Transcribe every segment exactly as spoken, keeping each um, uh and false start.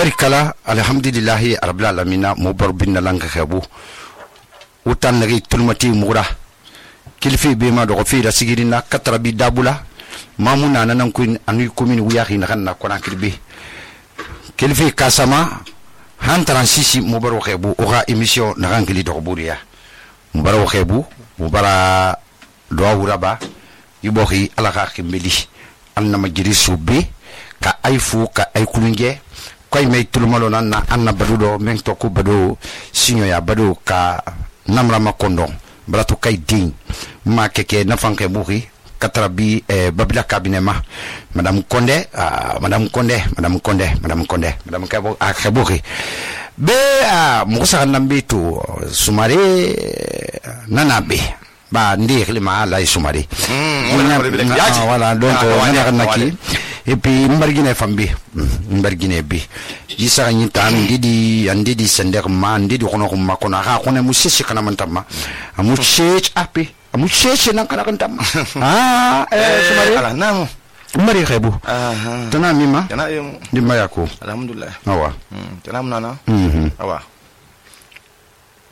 barikala alhamdulillahi rabbil alamin mubar bin langa khabu utan nagi tulmati mura kilfi be ma do fi da sigirina katrabi dabula mamuna nanan kuin anu komini wiyahi na kan na kona kirbe kilfi kasama han transisi mubar khabu oga emission na rangili do buriya mubar khabu mubara do wuraba yubohi ala kha khimeli anna majiri subbe ka aifu ka ay kulunge koy may tulumalo nan na anna badudo men to ko bado sinyo ya bado ka namra makondo brato kay din ma keke na fanke buhi katrabi eh, babila kabinema madame Konde uh, madame Konde madame Konde madame Konde madame Kabo akhabuhi be uh, musa nambe to sumare nanabe ba ndi khilima la sumari mm, wala donc na kan naki et puis mbargine fambi mbargine bi yisa ni tan didi andi di sender ma andi di kono ko makona ha kono mu sisi kana mantama amu chech api amu chech nan kana kantama ah eh sumari ala nam mari khebu aha tana mima tana yum di mayako alhamdulillah awa tana nana mhm awa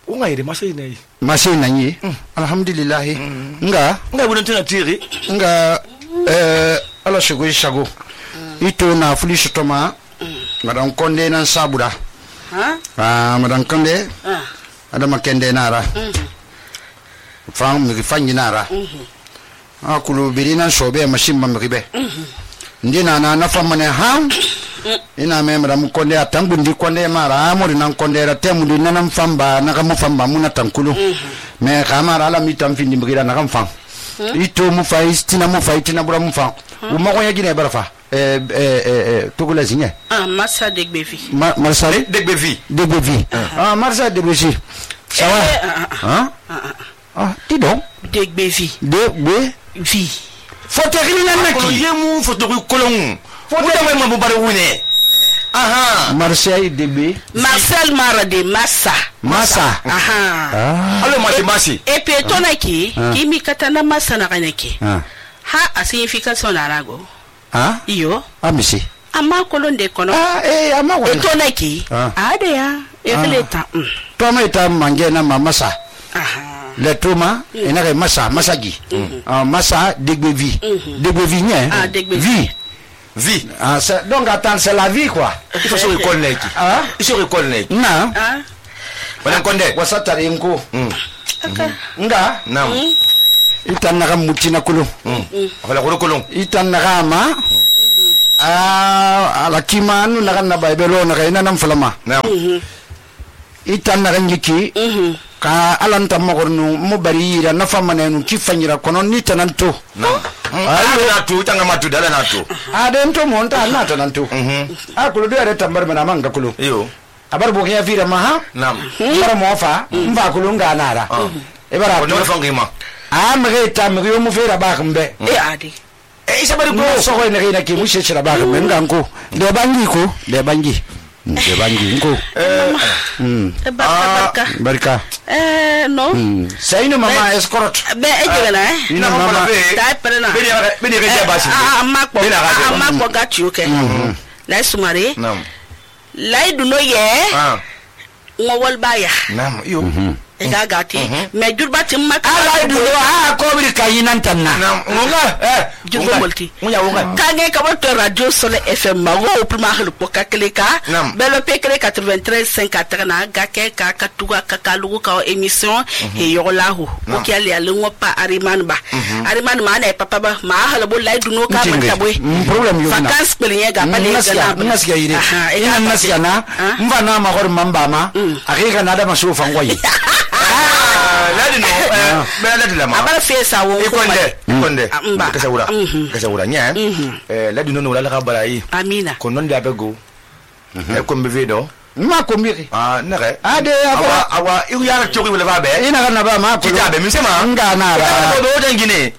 unga ire masai nei masai nani alhamdulillah nga nga budon tuna tiri nga eh ala shugo shago ito na fulisho toma madam Konde nan sabura ha ah madam Konde ah adama kende nara fam mi fanyi nara ah kulu birina sobe machine mam ribe ndina na na famane ha ina me madam Konde atambundi Konde mara amori nan Konde ra temundi nanam famba na kamu famba muna tankulu me kamara ala mitam findi mbira na kam fam ito mu faistina mu faitina bura mu fam uma ko yagine barafa eh eh eh tugula zinye ah Marsa Degbevi ma Marsa Degbevi Degbevi ah Marsa Degbevi sawa hein ah ti donc Degbevi Degbevi foto rina naki yemu foto kolon foto ma mo bare wune aha Marseille Degbe Marcel Marade Massa Massa aha ah allo mati masi et puis tonaki kimi katana Massa na kaneki ha a signification na rago ah iyo amisi ama kolonde kono ah eh ama wala tonaki ade ya ekleta toma ita mange na Massa aha le toma ina ke Massa Massagi ah Massa Degbevi Degbevi nie ah Degbevi vie ah c'est donc attends c'est la vie quoi il faut se reconnaître ah il se reconnaître na ah madam Konde wasatari nko nga nam itan naga mutina kulu wala ko kolon itan naga ma ah ala kimanu naga na baibelo naga ina nam falama nam itan naga ngiki ka alanta magornu mo bari ira na famane nu kifanyira kono ni tananto nam ayo na tu tanga matu dala na tu adento monta na tananto ah kulu do are tambar mana manga kulu iyo abar bo ya vira maha nam bara mofa mva kulu nganara e bara ko no fangima ah mre ta mre yo mu fera ba kambe e ade e isa bari ko so ko ne ina ki mu shechira ba kambe nganko de bangi ko de bangi de bangi nko mm barka barka eh no sai no mama escort be ejela eh ina mama ta perena be be be be basi ah makko ah makko gachu ke la sumare nam lai duno ye ah ngowol baya nam iyo ega gati me jurba tim makka ala duno ah ko bi kayinan tanna nam ngonga eh jurba multi munya wonga kage ka to radio Soleil F M ma wo prima helu poka kleka belo pekre quatre-vingt-treize cinq quatre na gake ka katuga ka kalugo ka émission e yolahu o ki ali ali ngopa ariman ba ariman ma na papa ba ma hala bo lai duno ka mata boy problem yo na vacances pelinye ga pa le ga na nasiya ire ina nasiya na mva na ma gor mamba ma akika na da masu fangwayi ladi no eh me ladi la ma abara fesa wo ikonde ikonde kasawura kasawura nya eh ladi no no la ka barayi amina ko non da bego e ko mbe vedo ma ko mbiri ah nare ade awa awa iru yara chokwi wala ba be ina kana ba ma ko jabe mi sema nga na ra do do ngine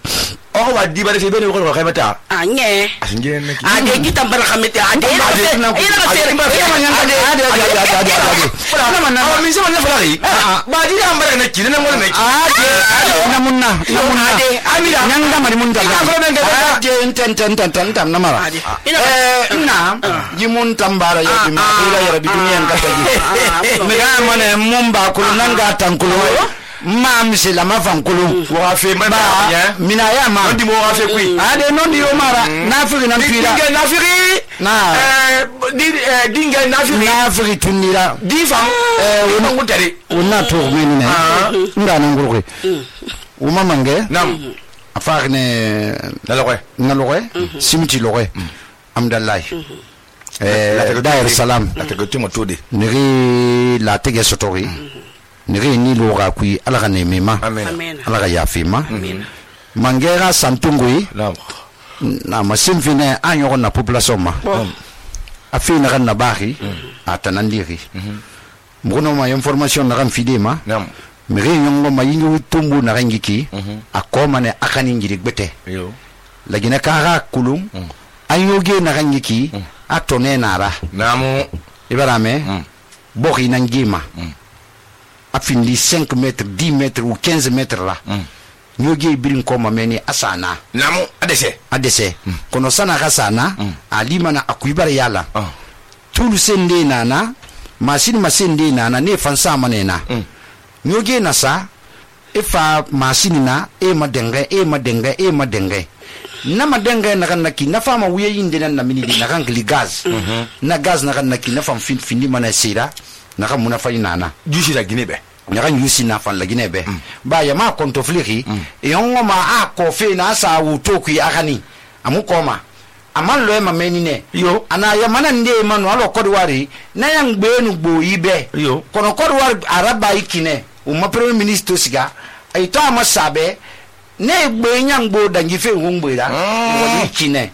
o wa di ba de be ne ko ko khameta anye asinge ne ki ade kita bar khameta ade ina ina ina ba ade ade ade ade ade na manna mi sema ne fari ba di ambara ne ki ne ngol ne ki ade na munna na munna ade amira nyanga mari mun dalla ade enten enten enten tam na mara eh na jimun tambara ya bi ma ila ya bi duniya ngata ji me ga mana mun ba kulu nan ga tankulu ma misi la ma fankulu wa fe ma mina ya ma ndi mo wa fe kui ade non di o mara nafiri nan tuira dinga nafiri na eh di dinga nafiri nafiri tunira di fam eh wona ngutare wona to meni ne nda nan gurwe o ma mange nam afar ne na loxe na loxe simti loxe amdallah eh Dar es Salaam la tege timo tode niri la tege sotori niri ni loga kui ala ne mema amen ala ya fima mangera santungui nam na masim fine anyo na population ma afina kan na bari atanandiri mbono ma information na kan fidema nam miri nyongo ma yingu tumbu na rangiki akoma ne akani ngiri gbete yo lagina kara kulum ayoge na rangiki atone nara namu ibarame bori nangima afindi cinq mètres dix mètres ou quinze mètres là nyoge birin koma meni asana namu adese adese kono sana kasana alimana akuibara yala tulu sende nana masini masende nana ne fansa manena nyoge nasa ifa masini na e madenge e madenge e madenge na madenge na kan naki na fama wuye yinde na minidi na kan gli gaz na gaz na kan naki na fam fin findi mana sira na kan muna fa nana jusi la ginebe na kan yusi na fa la ginebe ba ya ma konto fliri e ongo ma a ko fe na sa wu toku akani amu koma aman lo e ma menine yo ana ya mana nde manu alo kodwari na yang gbenu gbo ibe yo kono kodwari araba ikine o ma premier ministre siga ay to ama sabe ne gbe nyangbo dangi fe ngbeira woni kine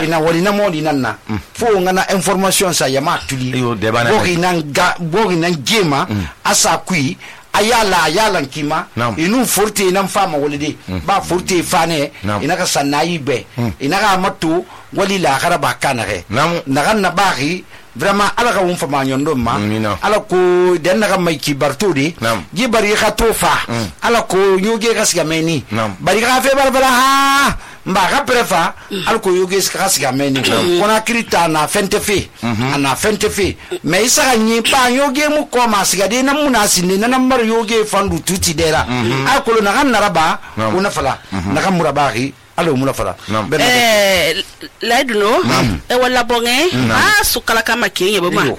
ina woni na modi nanna fo ngana information sa yama tuli bogi nan ga bogi nan gema asa kui ayala ayala kima inu forte nan fama wolide ba forte fane ina ka sanayi be ina ka matu wali la garaba kanare nagan na bagi vraiment ala ka won fama nyondo ma ala ko den na mai ki bartudi gi bari ka tofa ala ko nyoge ka siga meni bari ka fe barbara ha mba ka prefa ala ko yoge ka siga meni kona krita na fente fe ana fente fe me isa ka nyi pa yoge mu ko ma siga de na muna sinne na nambar yoge fandu tuti dera ala ko na kan naraba una fala na kan murabari alo mula fala eh laiduno e wala bonge ah sukala kama kiyenye bama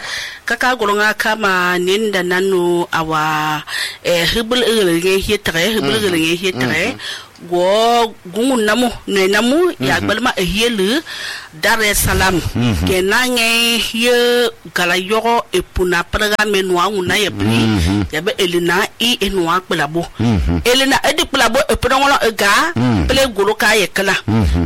kaka golonga kama ninda nanu awa eh hibul irenge hitre hibul irenge hitre go gungun namu ne namu ya balma ehelu Dar es Salaam ke nange ye gala yoro epuna programme noa una ye bri ya be elina i enwa kplabo elina edi kplabo epuna ngolo ega ple golo ka ye kala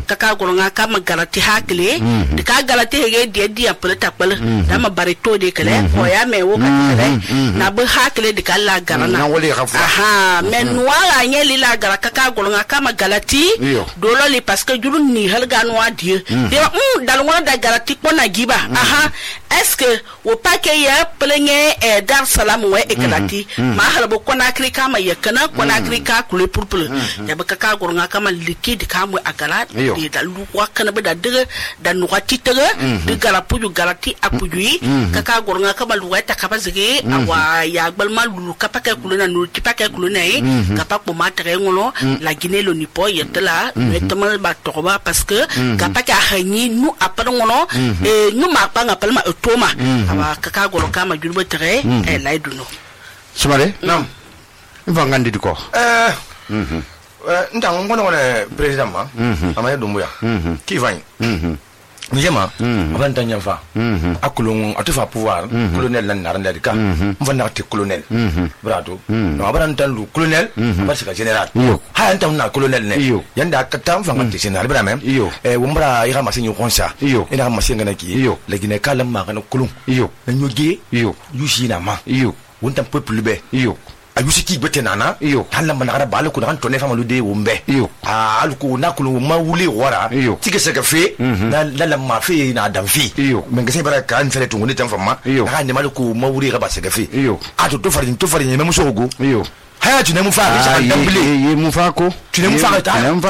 kaka golonga kama galati hakle de ka galati hege de dia ple tapel da ma barito de kale o ya me wo ka kale na be hakle de kala garana aha men noa anye lila gara kaka golonga kama galati dolo li parce que julu ni halga noa die de mm dalongona da galati kona giba aha est-ce que o pake ya plenge e Dar es Salaam we e galati ma halbo kona krika ma yakana kona krika kule purpul ya baka ka gornga kama liquide kamu agala de da lu wakana be da de da nuwa titere de gala puju galati apuju kaka gornga kama luwa ta kaba zige awa ya gbalma lu kapake kuluna nu tipake kuluna e kapako matre ngolo la Guinée lo nipo yetela notamment ba toba parce que kapake hanyi nu apara ngolo e nu ma pa ngapalma toma awa kaka goro kama julbe tere e laiduno sumare nam mvangandi diko eh mhm nda ngono ngone president ma amaya dumbuya ki vany Mijema, avant d'en fa, akulung atufa pouvoir, colonel nan narandika, mvana te colonel, brado, no avant d'en colonel, parce que général, ha antam na colonel ne, yanda katam fa ngati général bra même, e wombra ira masinyo konsa, ina masinga na ki, la gine kala ma kana kulung, na nyoge, yushi na ma, wontam peuple be, ayusi ki bete nana hala manara bala ko dan tonne famalu de wumbe ah alko na ko ma wuli wara tike seka fe na la ma fe na dan fi men gese bara kan fere to ngoni tan fama ha ne malu ko ma wuri ga ba seka fe a to to farin to farin me muso go haya tu ne mu fa sa dambule ye mu fa ko tu ne mu fa ta ne mu fa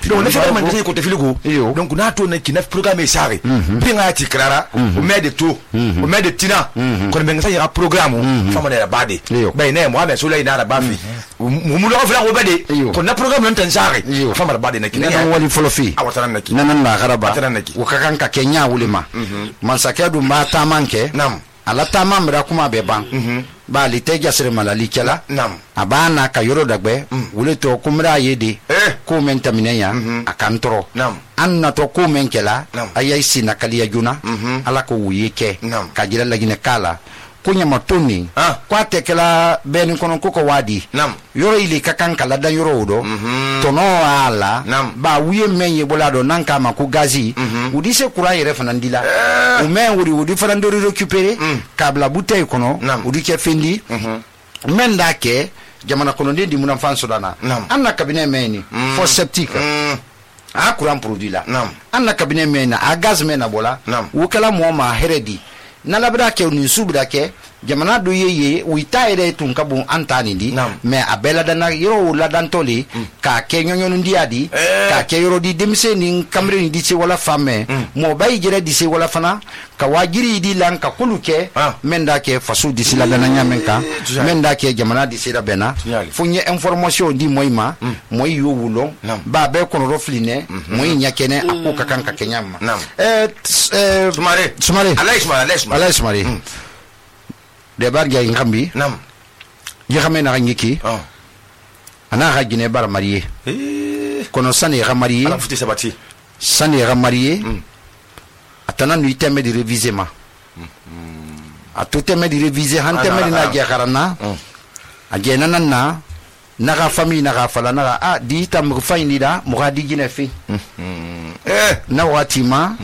donc ne fa man de ko te filigo donc na to ne ki na programme sare bi nga ti krara o me de to o me de tina ko be nga sa ya programme fa ma de bade bay ne mo ame so lay na ba fi mu mu lo fa ko bade ko na programme non tan sare fa ma bade na ki na wali folo fi awatana na ki na na garaba o ka kan ka kenya wulima man sakadu ma ta manke nam ala ta mamra kuma be ban ba li te jasre malali kala nam abana ka yoro dagbe wule to kumra yede ko men tamine ya akantro anna to ko men kala ayai sina kaliya juna ala ko wuyeke ka jira lagine kala kunya matoni kwa tekela beni kono koko wadi yoro ili kakan kala dan yoro do tono ala ba wiye menye bolado nanka ma ku gazi udi se kura yere fanandila o men wudi wudi fanandori récupérer kabla bouteille kono udi ke fendi men dake jamana kono ndi muna fanso dana anna cabinet meni for septique a courant produit la anna cabinet mena a gaz mena bola wukala mo ma heredi na labra ke ni subra ke jamana do yeye wita ere tun kabun antani di me abela dana yo la dantoli ka ke nyonyo ndi adi ka ke yoro di demse ni kamre ni di se wala femme mo bay jere di se wala fana ka wajiri di lan ka kuluke menda ke fasu di sila dana nyamenka menda ke jamana di se da bena funye information di moyma moy yo wulo ba be kono rofline moy nyakene akuka kanka kenyama eh sumare sumare alay sumare alay sumare de barga ngambi nam ya xamé na ngiki oh ana xa gine bar marié eh kono sane xa marié ala futi sabati sane xa marié atana nu iteme di réviser ma atu teme di réviser han teme na je xarana a je nanana na ga famille na ga fala na a di tam fayni da mo ga di gine fi eh na wati ma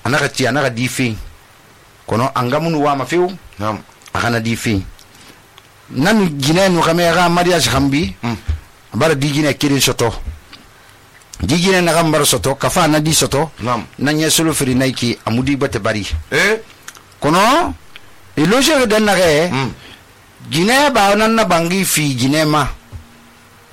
ana ga ti ana ga di fi kono angamunu wa ma fiu nam akana di fi nan gine no kamera mariage khambi bara di gine kirin soto di gine na gambar soto kafa na di soto nan yesulu firi naiki amudi bate bari eh kono e loje de na re gine ba nan na bangi fi gine ma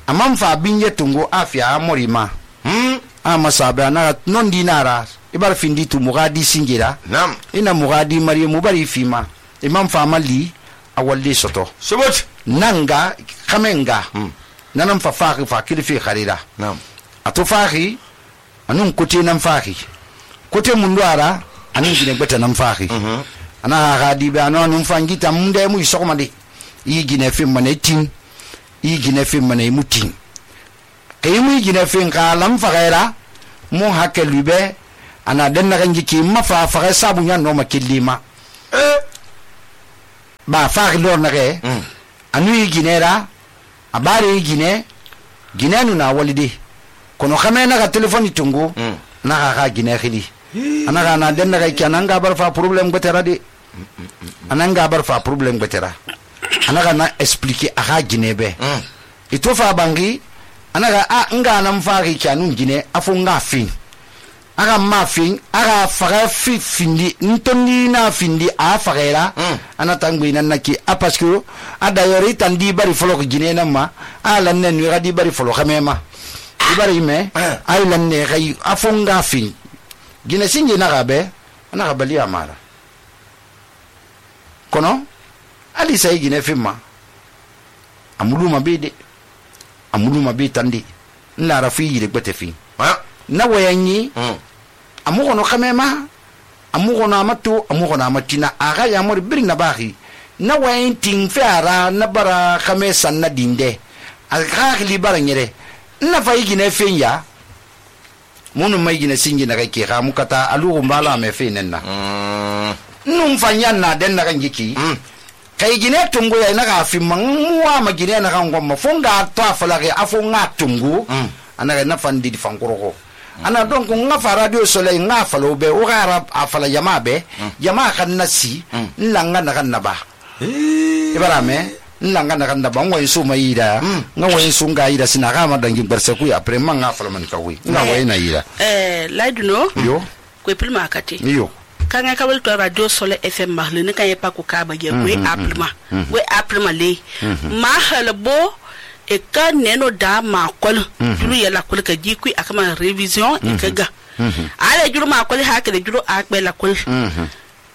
amam fa binye tungo afia amorima hm ama sabe na non dinara ibar findi tu mugadi singira nam ina mugadi mariye mubari fima imam famali awalli soto sobot nanga kamenga hmm. nanam fa faaki fa kilifi kharira nam atu faaki anun kuti nam faaki kuti mundwara anun gine gbeta nam faaki mm -hmm. ana gadi be anun fangita munde mu isokmandi yi gine fi mane tin yi gine fi mane mutin kay mu gine fi ngalam fagaira mu hakelube ana denna ganji ki mafa faga sabu nya no makillima eh ba faaki lor na re mm. anu ginera abare gine ginenu na walide kono khamena ga telefoni tungu mm. na ga ga gine khili ana ga na den na ga kananga bar fa problem betera de ananga bar fa problem betera ana ga na expliquer aga gine be mm. ito fa bangi ana ga a nga na mfaaki kanu gine afu nga fin aga ma fin aga faga fi findi ntoni na findi a fagera mm. ana tangwe nan naki a parce que ada yori tandi bari folo ko gine na ma ala nen wi gadi bari folo xamema di bari me ay lan ne gay afonga fin gine singi na gabe ana ga bali amara kono ali say gine fimma amulu mabide amulu mabide tandi na rafi yire gbete fi na wayanyi mm. amugono kamema amugono amatu amugono amatina aga ya mori birina bahi na wayin ting fara na bara khamesa na dinde aga li bara nyere na fayi gine fenya munu mai gine singi na kake ga mukata alugo mbala me fenenna mm. num fanya na den na ngiki mm. kai gine tungu ya na ga fi manwa ma gine na ga ngomma fonga to afala ga afonga tungu mm. ana na fandi di fankoro ana donc nga fa radio soleil nga fa lo be o gara afala jama be jama kan nasi nlanga na kan naba ibarame nlanga na kan naba ngo insu mayida nga wo insu nga ida sina ga ma dangi barse ku après man nga fa man ka wi nga wo ina ida eh laiduno yo ko pilma akati yo kanga kabel to radio sole fm mahle ne kan yepa ko ka ba ye we aplema we aplema le ma halbo e ka neno da ma kol juru ya la kol ka jikui akama revision e kaga ale juru ma kol ha ke juru akbe la kol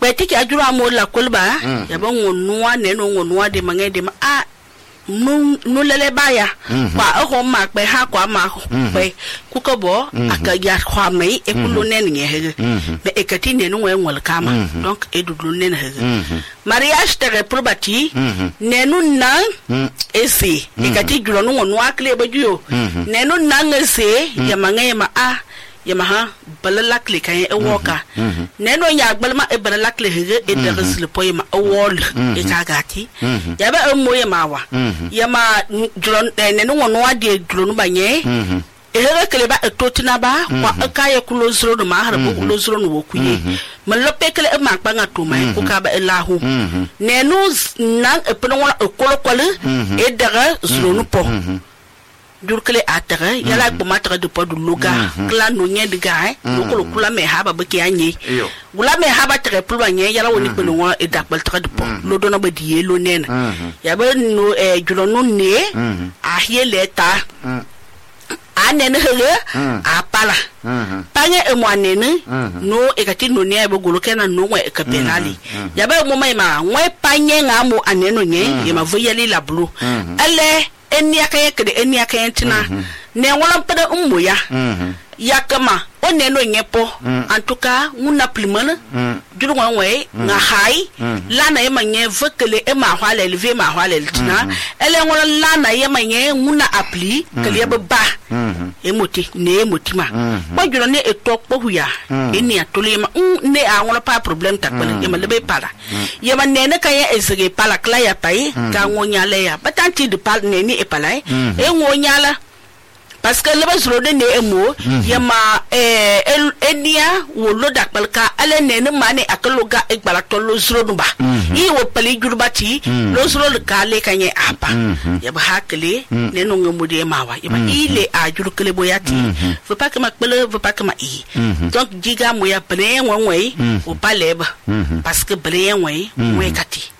be tiki ajuru amo la kol ba ya ba ngonuwa neno ngonuwa de mange de ma a nu nu lele baya kwa ho ma pe ha kwa ma pe ku ko bo aka ya kwa mai e kullu nen nge he me e kati ne nu wen kama donc e dudu nen he mariage tere probati ne nu nan ese e kati julo nu nu akle ba juyo ne nu nan ese ya mange ma a ya maha balalakle kan e woka ne no ya gbalma e balalakle he e de resle poy ma wol e kagati ya ba mo ya mawa ya ma julon ne no wono ade julon banye e he kele ba e totina ba kwa ka ya kulo zro no ma har bo kulo zro no wokuye ma lope kele e ma kpanga to mai ko ka ba e lahu ne no nan e pno wona e kolo kolo e daga zro no po durkele atara yala ko matra de podu loga kla no nye de gae no ko kula me haba be ki anye gula me haba tre pulwa nye yala woni ko no e dakbal tra de po lo do na ba die lo nena ya ba no e julo no ne a hiele ta anene hele a pala panye e mo anene no e kati no ne be golo kena no e ka penali ya ba mo mai ma we panye nga mo aneno nye ye ma voyeli la blu ale eni akaya kede eni akaya tina ne wala pada ummu ya yakama onne no nyepo antuka nguna plimana juru wanwe nga hai lana yema nye vekele e ma hwale elve ma hwale tina ele wala lana yema nye nguna appli kele ba ba emoti ne emotima ba juru ne etok po huya eni atole ma ne a wala pa problem takbele yema lebe para yema ne ne kaya ezege pala kla ya pai ka ngonya le ya batanti de pal ne ni e pala e ngonya la parce que le basro de ne emo yama eh enia wo lo dakbalka ale ne ne mane akaloga e gbala to lo zro nuba yi wo pali jurbati lo zro le kale kanye apa yaba hakle ne no ngomudi mawa yaba ile a jurkele boyati faut pas que ma pele faut pas que ma i donc diga mo ya pele wonwe o paleba parce que bre wonwe we kati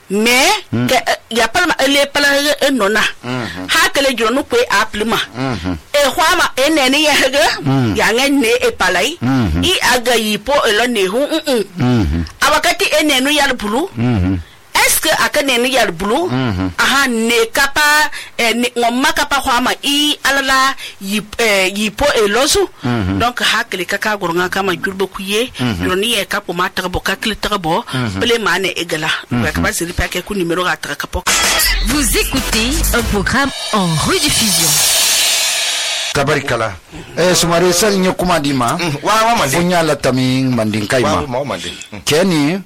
mais ya palma ele pala enona hakle juro no pe aplima e hwama enene ye hege ya ngene e palai I aga yipo elo ne hu mm abakati enenu yar bulu est-ce que akanenu yar bulu aha ne kapa ne ngomma kapa hwama I alala yipo elozu donc hakle kaka goronga kama jurbo kuye juroni e kapo mata bo kakle trabo ple mane egala ka siri pa ke ku numéro ga tra kapo. Vous écoutez un programme en rediffusion. Tabarikala eh sumare sal nyokuma dima wa wa mande funya la taming mandin kaima wa mande keni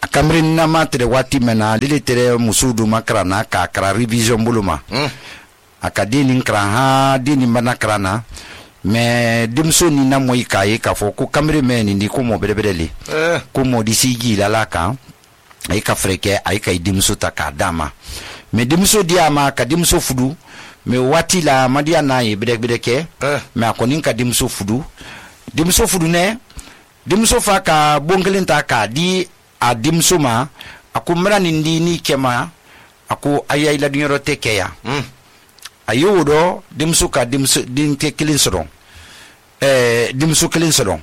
akamrin na matre wati mena dilitere musudu makrana ka kra revision buluma akadini kra ha dini manakrana me dimso ni na moy kai ka fo ku kamre meni ndi ko mo bedebedeli ko mo disigi la la ka ay ka freke ay ka dimso ta ka dama me dimso diama ka dimso fudu me wati la madia na ye bedek bedeke eh. me akonin ka dimso fudu dimso fudu ne dimso fa ka bongelenta ka di a dimso ma akumra nindi ni kema aku ayay la dunyoro tekeya mm. ayodo dimso ka dimso din te kilin sodon eh dimso kilin sodon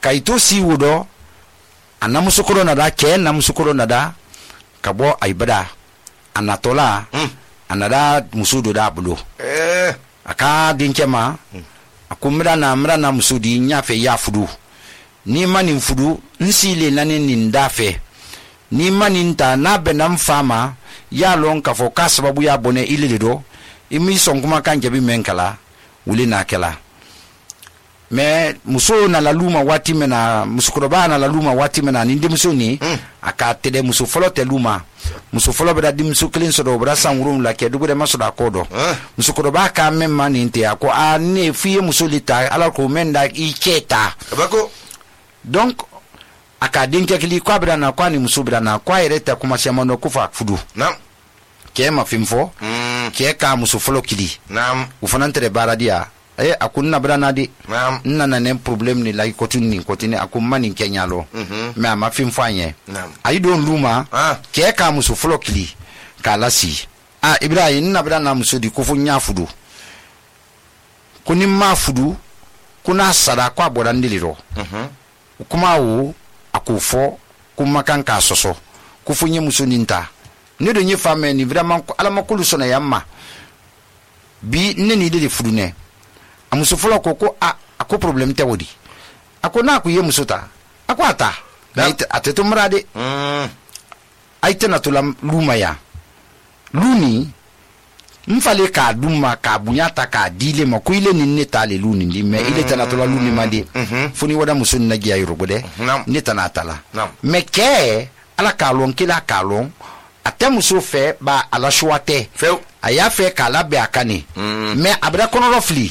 kaito si wodo anamuso korona da ke namuso korona da kabo aibada anatola mm. anada musudu da bulu eh aka dinkema akumra na mra na musudi nyafe ya fudu ni mani fudu nsile nani nindafe ni mani nta na benam fama ya lon ka fo ka sababu ya bone ililido imi sonkuma kanje bi menkala wuli na kala me muso na laluma wati mena musukroba na laluma wati mena nindi muso ni mm. aka tede muso folo te luma muso folo beda dimso kilin sodo bra sangurum la ke dugo de maso da kodo eh. musukroba ka memma ni nte ako a ne fiye muso lita ala ko menda iketa bako donc aka dinke kili kwa bra na kwa ni muso bra na kwa ireta kuma sema no kufa fudu nam ke ma fimfo mm. ke ka muso folo kili nam ufanantere baradia eh akun na brana de nana ne problem ni lai kotun ni kotini akun mani kenya lo me ama fin fanye ayi don luma ke ka musu folo kili kala si ah Ibrahim na brana musu di kufu nya fudu kuni ma fudu kuna sada kwa bodandiliro mhm kuma wo akufo kuma kan ka soso kufu nye musu ninta ne do nye fame ni vraiment ala makulu sona yamma bi ne ni de fudu ne amuso folo koko a ako problem te wodi ako na ku ye musuta ako ata naita ateto mrade mm aite na tula luma ya luni mfale ka duma ka bunyata ka dile ma ku ile ni neta le luni ndi me ile tana tula luni mande funi wada musun na giya yorobode neta na tala me ke ala ka lon kila ka lon atemuso fe ba ala shwate fe aya fe kala be akani me abra kono rofli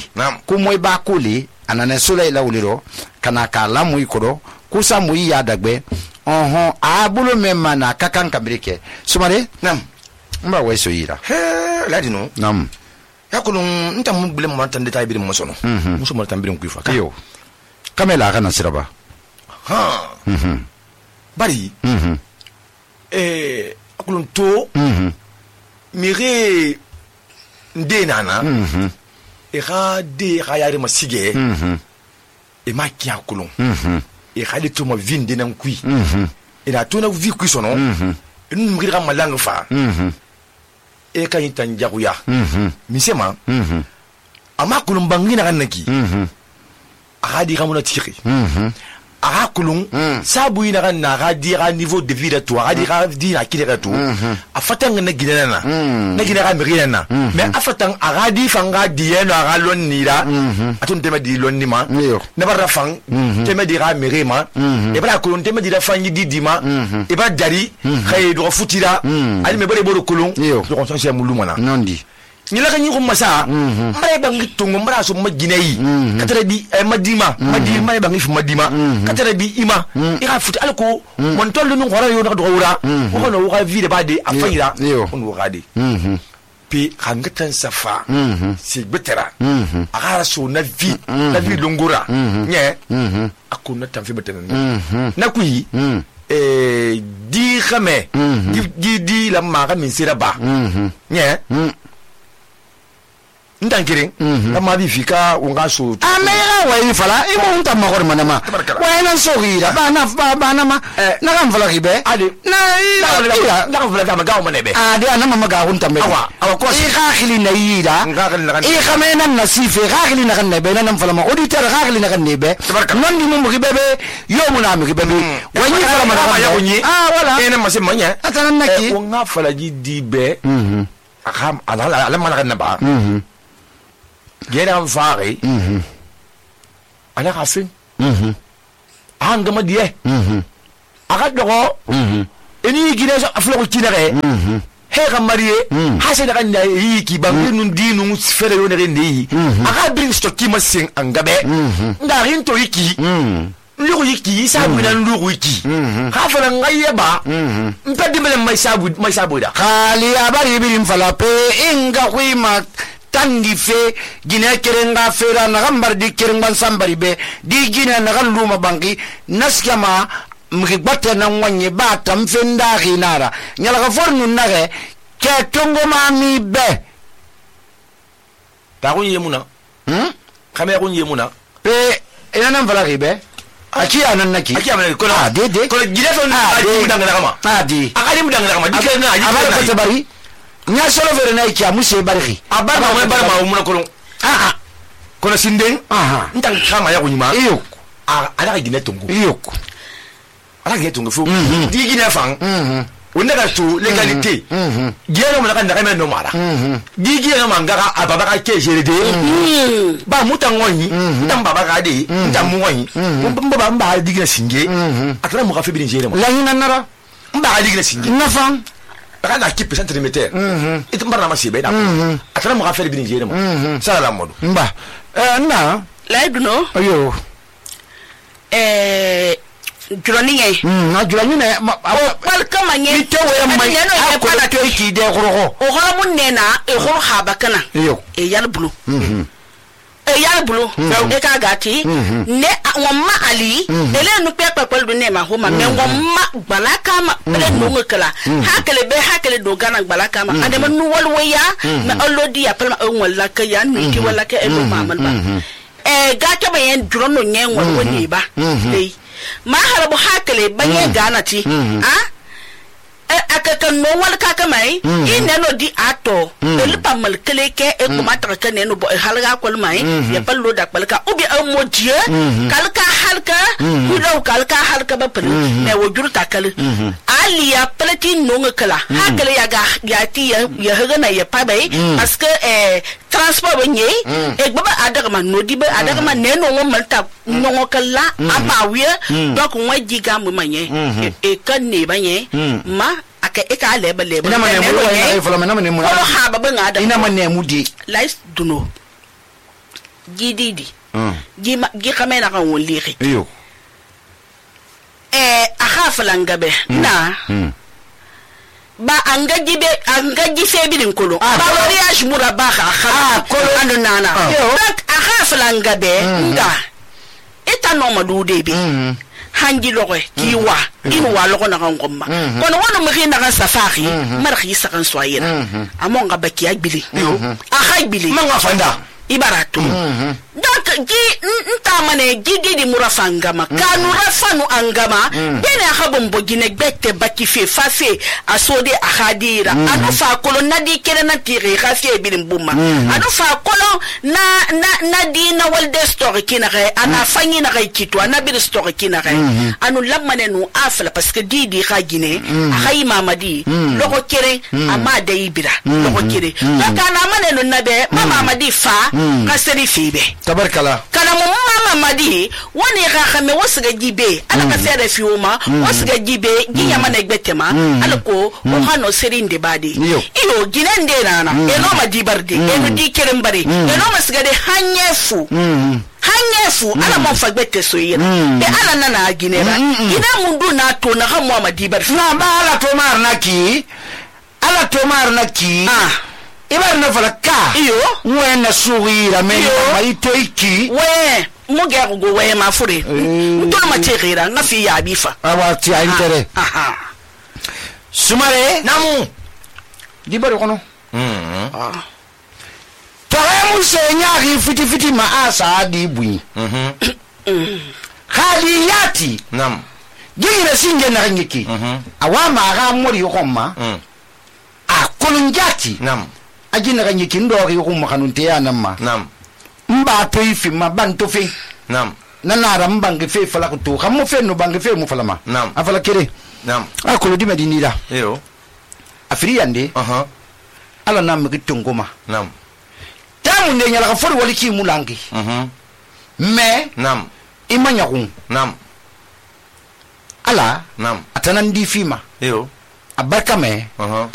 ku moy ba kuli anane sole la uliro kana kala mu ikodo kusa mu ya dagbe oho abulo memma na kakan kambrike sumare nam mba weso yira he ladi no nam yakulu nta mu bile mo tan detail bi mo sono muso mo tan bi mo kuifa yo kamela kana siraba ha mhm bari mhm eh akulun to mhm mire nde nana mhm e ga de ga yare masige mhm e ma ki akulun mhm e ga de to mo vinde nan kui mhm e na to na vi kui sono mhm e nu mire ga malanga fa mhm e ka yitan jaguya mhm misema mhm ama kulun bangina kan naki mhm a di ga mo na tiri mhm a kulun sabu ina kan na ga di ga niveau de vie de toi a di ga di na kile to a fatanga na gina na na gina ga miri na mais a fatang a ga di fanga di eno a ga lon ni la atun tema di lon ni ma na bara fang tema di ga miri ma e bara kulun tema di la fangi di di ma e ba dari khay do futira ali me bare boro kulun do kon so se muluma na nondi ni la kanyi ko masa mare bangi tungo mara so majinai katara bi madima madima mare bangi fu madima katara bi ima ira futi alko mon tollu no hora yo do wura ko no wa vie de bade afira on wo gadi pi hangatan safa si betera aga so na vie na vie longora nye akuna tan fi betena na kuyi eh di khame di di la ma ga min sira ba nye ndankirin amma bi fika unga so amera wa ifala imo unta magor manama wa ina so gira ba na ba na ma na kan fala gibe ade na ila na kan fala ga magaw manebe ade ana mama ga hunta me awa awa ko i khakili na yida i khamena nasife khakili na kan nebe na nam fala ma auditeur khakili na kan nebe non di mo gibe be yo mo na mi gibe be wa ni fala ma ya kunyi ah wala ene ma se manya atana naki ko nga fala ji di be mhm akam ala ala mana kan ba mhm gera fare mhm ana kasin mhm anga madie mhm aga dogo mhm eni gine so aflo ko tinere mhm he ga marie ha se daga na yi ki bangi nun dinu fere yo ne rendi aga bring stock ki masin anga be nda rin to yiki mhm lugu yiki sabu na lugu yiki ha fala ngaye ba mpedi mele mai sabu mai sabu da khali abari birim fala pe inga kuima tangi fe gine kerenga fera na gambar di kerengan sambari be di gine na luma bangi naskama mribata na wanye bata mfenda ginara nyala ka fornu nage ke tongo mami be ta ko yemuna hm kame ko yemuna pe ina nan fala ribe aki anan naki aki anan ko ah de de ko gine so na di mudanga kama ah di akali mudanga kama di kana aji abara ko tabari nya solo vere na iki amuse bariki abara ma bara ma umuna kolon ah ah kono sinden aha ntan kama ya kunyima iyo ah ala gine tongo iyo ala gine tongo fu di gine fang mhm wonda ka to legalité mhm gine mo na kan da kama no mara mhm di gine no mangara ababa ka ke jere de ba mutangonyi ntan baba ka de ntan muwanyi mbaba mba di gine singe atara mo ka fe bi jere mo la hina nara mba di gine singe nafang kana ki percent limiter mhm it mbarna ma sibe da atara mo ka fe bi jere mo sala modu mba eh na la eduno ayo eh juroniye mm na juroniye wal kama nye ite we mai ko na to ki de khoro o khoro mun nena e khoro haba kana iyo e yal bulu mhm e ya bulu e ka gati ne wamma ali ele nu pe pe lu ne ma ho ma me wamma balaka ma ele nu ngkala hakele be hakele do gana balaka ma ade ma nu wal waya me olodi ya palma on wala ka ya nu ki wala ka e lu ma man ba e gato be en drono nyen wal woni ba dei ma harabu hakele ba ye gana ti ha akaka no wal kaka mai ine no di ato el pamal keleke e ko mata ka ne no bo halga ko mai ya pallo da palka ubi am modie kalka halka hudo kalka halka ba pal me wojur takal ali ya plati no ngakala hakale ya ga ya ti ya haga na ya pabai parce que eh transport benye e baba adaga man no di ba adaga man ne no malta no ngakala abawie donc wa jiga mu manye e kan ne banye ma aka eka leba leba ina mane mu wa fala mane mane mu ko ha baba ngada ina mane mu di lais duno gididi gi ma gi xamena kan won lixi yo eh aha falangabe na ba anga jibe anga jife bidin kolo ba mariage muraba kha kha kolo ando nana donc aha falangabe nda eta no madude bi hangi loge kiwa inu wa logo na ngomma kono wono mari na safari mar khisa kan soyira amonga baki agbili aha agbili manga fanda ibaratu donc gi ntamane gidi di murafangama kanu rafanu angama bene akhabon bogine gbette baki fe fafe asode ahadira anu fa kolo nadi kere na tire khafi bilim bumma anu fa kolo na na nadi na walde story kinare ana fanyi na kito ana bir story kinare anu lamane nu afla parce que didi khagine akhay mamadi logo kere amade ibira logo kere kana mane no nabe mama madi fa kaseri fibe tabarkala kana mu mama madi woni ga khame wosga jibe ala ka fere fiuma wosga jibe ginya mana gbetema ala ko o hano serinde badi iyo ginende nana eno madi barde eno di kerem bari eno masga de hanyefu hanyefu ala mo fagbete soyira be ala nana ginera ina mundu na to na ha mu madi bar na ba ala to mar naki ala to mar naki ah ibar na falaka iyo we na sugira me mai toiki we muge go we ma fure ntolo ma tirira na fi ya bifa awa ti a intere aha sumare namu di bari kono mhm ah tare mu se nyaari fiti fiti ma asa di bui mhm khali yati nam gingira singe na ngiki mhm awa ma ga mori yokoma mhm a kolunjati nam ajina ga ngiki ndo ri yokoma kanunte ya namma nam mba to ifi ma banto fe nam nana ra mbange fe fala ko to xammo fe no bange fe mu falama nam afala kere nam a ko di medini la yo afiri yande aha ala nam gi tongoma nam tamu ne nyala ka fori wali ki mulangi mhm me nam imanya kun nam ala nam atanan di fima yo abarka me aha